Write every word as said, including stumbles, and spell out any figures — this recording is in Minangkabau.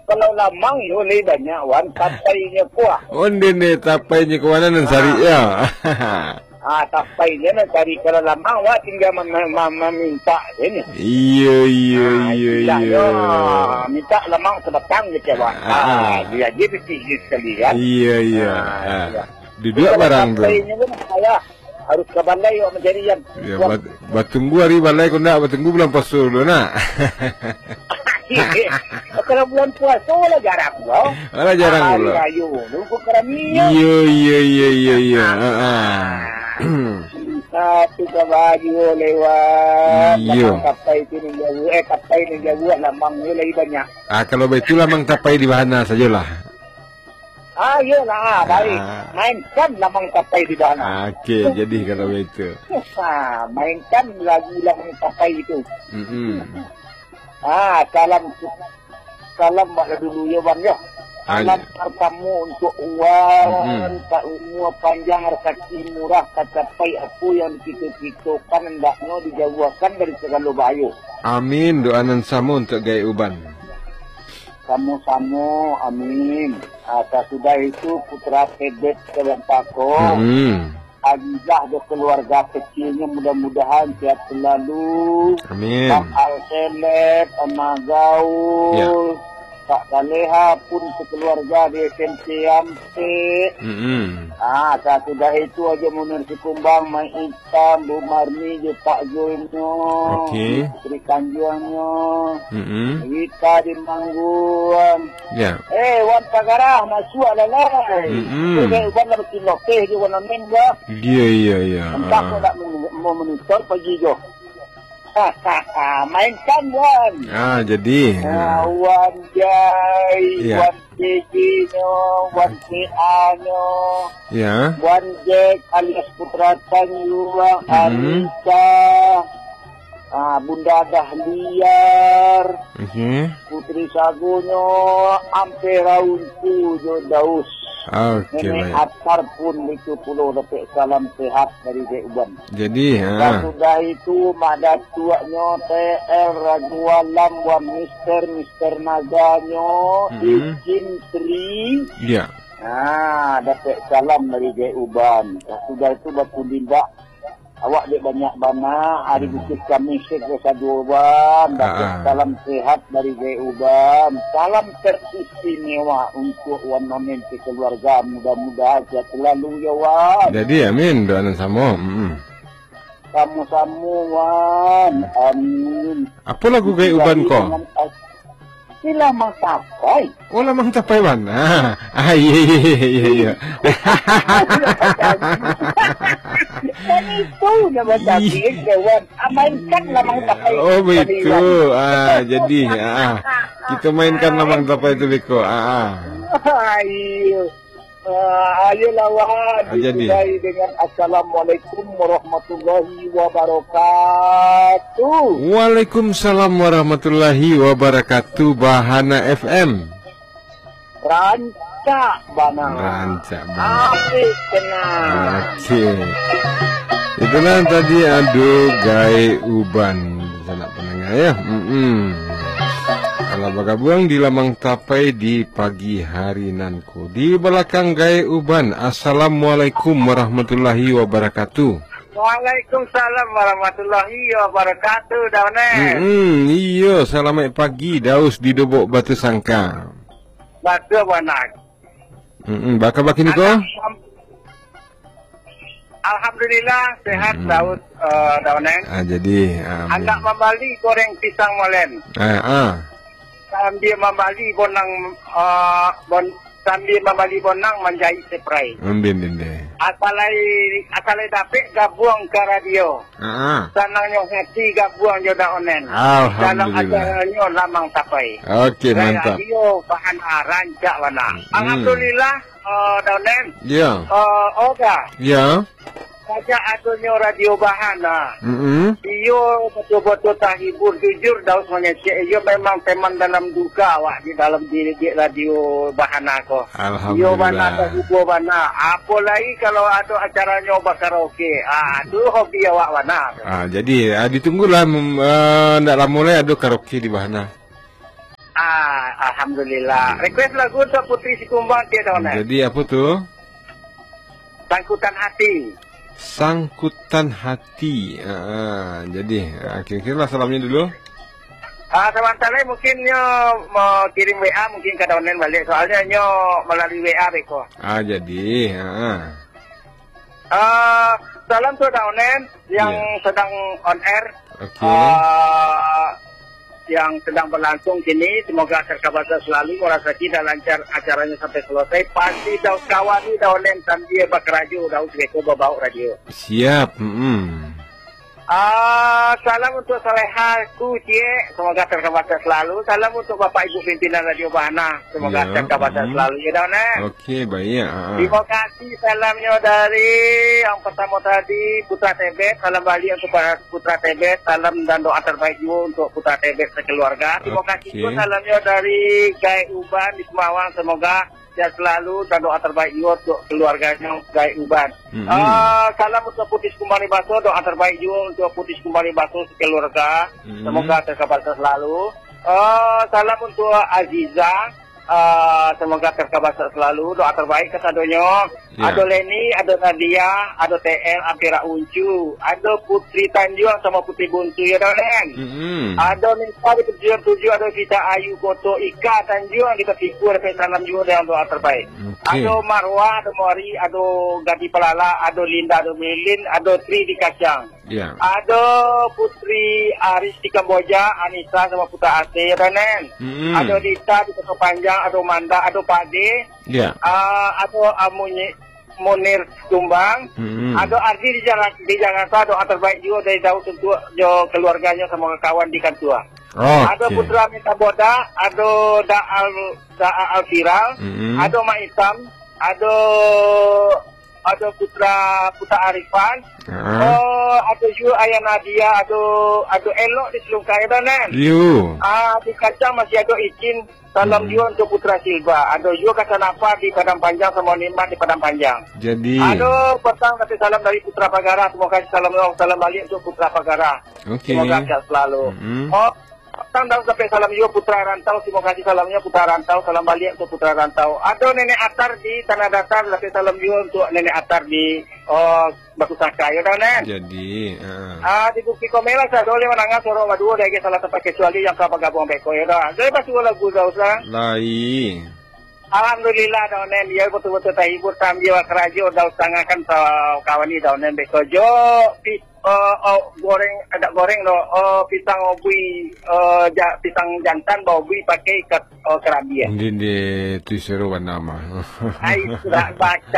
Kalau lamang yo lai banyak, Wan, tapainyo kuah. Onde ne tapainyo kuah nan sari yo. Ah, tapainyo nan sari. Kalau lamang, Wan, tingga mem-, mem-, meminta je ni. Iyo, iyo, Ah, iyo, iyo. Minta lamang sabatang je, Wan. Ah, Ah, ah. Dia je bisi sekali kan. Iyo, iyo. Ah, Ah. iya. Duduak Kalau barang tu. Tapainyo kan payah. Harus ka balai awak mancari, Jan. Ya, Wah. bat-, batunggu ari balai ko ndak, batunggu bulan puaso dulu, nak. Kalau bulan puaso lah jarang lo. Alah, jarang Hari pulo. Rayo dulu ko karami. Iyo, iyo, iyo, iyo, iyo. Ha, ha. Tapi ka baju lewat. Iyo. Lamang tapai tu nan jauah, eh, tapai nan jauah, lamang ni lagi banyak. Ah, kalau baitu lamang tapai di bahana sajolah. Ah, iyolah, ah, baik. Ah. Mainkan lamang tapai di bana. Ah, okey, jadi kalau baitu. Ah, mainkan lagu lamang tapai itu. Mm-mm. Ah, salam, salam bak dulu yo, Wan, yo. Ah, Salam iya. Partamo untuak Wan, Mm-mm. ka umua panjang, rasaki murah, tacapai apo yang dipinto-pintokan, hendaknyo dijauahkan dari sagalo bahayo. Amin, doa nan samo untuak Gaek Uban. Samo-samo, amin. Ah, sasudah itu, putra Tebet Kadampako, Hmm. Azizah jo keluarga kecilnya, mudah-mudahan sehat selalu. Amin. Bang Alseleb, Amah Gaul, Ya. Kak Saleha pun sekeluarga di S M P Ampek. Mm-mm. Ah, sasudah itu, Haji Munir Sikumbang, Mai Tam, Bu Marni jo Pak Zul nyo, Okey. Putri Tanjuang nyo, Mm-mm. Wita di Mangguang. Ya. Eh, Wan Pagarah, masuak lah, lai. Mm-mm. Tu, Wan lah basiloteh jo Wan Amin, bah. Iya, iya, iya. Entah Ah. kok nak men-, mau monitor pagi jo. Mainkan, Wan. Ah, jadi. Ah, Wan Jai, Ya. Wan P J nyo, Wan P A nyo, Ya. Wan Jack alias Putra Tanjuang, Mhm. Anissa, ah, Bunda Dahliar, Okey. Putri Sagonyo, Ampera Untu jo Daus. Okey, Nenek baik. Atar pun itu pulo dapek salam sehat dari Dek Uban. Jadi, ha. Sasudah itu, Mak Datuaknyo, T L Ragualam, Wan Mister, Mister Naganyo, Mhm. Ijin Tri. Ya. Ha, dapek salam dari Dek Uban. Sasudah itu, Batu Limbak. Awak dek banyak bana, hari Mhm. Bukit Kamih, Sek Saduo Uban. Dapek Ah, ah. salam sehat dari Dek Uban. Salam teristimewa untuk Wan Onen sekeluarga. Mudah-mudahan sehat selalu, ya, Wan. Jadi, amin. Doa nan samo. Mm-mm. Samo-samo, Wan. Amin. Apo lagu Gaek Uban ko? Dengan as-, ni Lamang Tapai. Oh, Lamang Tapai, Wan. Ah, ah, iya, iya, iya, iya, iya. Kan itu nama Ih. Tapai, kawan. Ah, mainkan Lamang Tapai Oh, tadi, begitu. Wan. Ah, jadi, ah, ah. Kita mainkan Lamang Tapai tu beko. Ah, ah. Ah, iya. Ah, ayolah, Wan, Ah, jadi. Disudahi dengan Assalamualaikum warahmatullahi wabarakatuh. Waalaikumsalam warahmatullahi wabarakatuh, Bahana F M. Rancak bana. Rancak bana. Asik tenang. Okey. Itulah tadi Ado Gaek Uban. Sanak pandanga, ya. Mm-mm. Alah bagabuang di Lamang Tapai di pagi hari nan Di balakang Gaek Uban, Assalamualaikum warahmatullahi wabarakatuh. Waalaikumsalam warahmatullahi wabarakatuh, Dauneng. Mm-mm, iyo, salamaik pagi, Daus di Dobok Batu Sangka. Batua, Bang Anak. Mm-mm, baa kaba kini ko? Anak mam-, Alhamdulillah, sehat, Mm-mm. Daus, eh, Dauneng. Ah, jadi, ah, Anak amin. Mambali goreng pisang molen. Ah, ah. Sambia mambali bonang, eh, bon-, sambia mambali bonang manjaik seprai. Undin, undin. Asalai, asalai dapek gabuang ka radio. Ah, ah. Sanangnyo hati gabuang jo Dauneng. Alhamdulillah. Dalam acaranyo Lamang Tapai. Okey, mantap. Radio Bahana, rancak bana. Hmm. Alhamdulillah, eh, Dauneng. Ya. Eh, Oga. Ya. Sajak adonyo Radio Bahana, Mm-mm. Iyo batua-batua tahibur, jujur Daus mangecek. Iyo memang teman dalam duka awak di dalam di, di Radio Bahana ko. Alhamdulillah. Iyo bana, tahibur bana. Apo lai kalau ado acaranyo bakaraoke. Ah, tu hobi awak bana. Ah, jadi, ah, ditunggulah, mm, ah, ndak lamo lai ado karaoke di Bahana. Ah, alhamdulillah. Request lagu untuk Putri Sikumbang, Cik Dawan, eh? Jadi, apa tu? Sangkutan Hati. Sangkutan Hati. Ah, jadi, ah, kira-kira lah salamnya dulu. Ah, sabanta lai mungkin nyo mau kirim W A mungkin ka Dawan baliak. Soalnya nyo malalui W A beko. Ah, jadi, ah. Ah, salam tu Dawan yang Ya. sedang on air. Oke. Ah, yang sedang berlangsung kini, semoga terkabasa selalu, murah rezeki dan lancar acaranya sampai selesai. Pasti Daud kawan ni, Daud Nen, sambil bakarajo, Daud beko babawa radio. Siap, mm-mm. Ah, salam untuk Saleha ku, Ciek, semoga terkabasa selalu. Salam untuk Bapak Ibu pimpinan Radio Bahana, semoga Ya, terkabasa mm. selalu, ya, Daud Nen. Oke, baik, ah. Terima kasih, salamnya dari yang pertama tadi, Putra Tebet, salam baliak untuk para Putra Tebet, salam dan doa terbaik juga untuk Putra Tebet sekeluarga. Terima kasih Oke. juga salamnya dari Gai Uban di Semawang. Semoga sehat selalu dan doa terbaik juga untuk keluarganya Gai Uban. Mm-mm. Ah, salam untuk Putri Sikumbang Libaso, doa terbaik juga untuk Putri Sikumbang Libaso sekeluarga. Mm-mm. Semoga terkabasa selalu. Ah, salam untuk Aziza. Ah, semoga terkabasa selalu. Doa terbaik kasadonyo. Ya. Ado Leni, ado Nadia, ado T L, Ampera Uncu, ado Putri Tanjuang sama Putri Buntu, ya, Daud Nen? Mm-mm. Ado Nisa di Pecinan Tujuh, ado Vita Ayu Koto, Ika Tanjuang di Katiku, ado salam juga dengan doa terbaik. Oke. Ado Marwah, ado Mori, ado Gaddi Palala, ado Linda, ado Melin, ado Tri di Kacang. Ya. Ado Putri Aris di Kamboja, Anissa sama Putra Asih, ya, Daud Nen? Mm-mm. Ado Dita di Kota Panjang, ado Manda, ado Pade. Ya. Ah, ado, ah, Munyi-, Munir Tumbang. Mm-mm. Ado Ardi di Jala-, di Jakarta, doa terbaik juga dari Daud untuk jo keluarganya sama kawan di kantua. Oke. Ado Putra Minta Boda, ado Da Al-, Da Alfiral, Mm-mm. ado Mak Itam, ado, ado Putra, Putra Arifan, Ah. oh, ado juga Ayah Nadia, ado, ado elok di Selungkai, Daud Nen? Yo. Ah, di Kacang masih ado Icin, salam Hmm. juga untuk Putra Silva. Ado juga Kasanapa di Padang Panjang, sama Nikmat di Padang Panjang. Jadi. Ado, petang tapi salam dari Putra Pagara. Terima kasih, salam, salam baliak untuk Putra Pagara. Oke. Semoga sehat selalu. Mm-mm. Oh, petang dan sampai salam juga Putra Rantau. Terima kasih salamnya Putra Rantau. Salam baliak untuk Putra Rantau. Ado Nenek Atar di Tanah Datar. Sampai salam juga untuk Nenek Atar di, oh, Batu Sangka, ya, Daud Nen? Jadi, ah. Ah, di Bukik Komela, saya boleh mandanga suaro baduo, dah salah tempat kecuali yang ka bagabuang beko, ya, dah. Jadi, pas suaro lagu, dah usah. Lai. Alhamdulillah, Daud Nen. Ya, betul-betul terhibur, sambil karajo, dah usah ngakan, sa-, kawan ni, Daud Nen, beko jo, pi-, eh, oh, goreng, ada goreng, doh. Oh, pisang obui, eh, ja-, pisang jantan, baobui pakai ikat, oh, kerambia. Ndi, ndi, tu seru bana mah. Ai, sudah baca.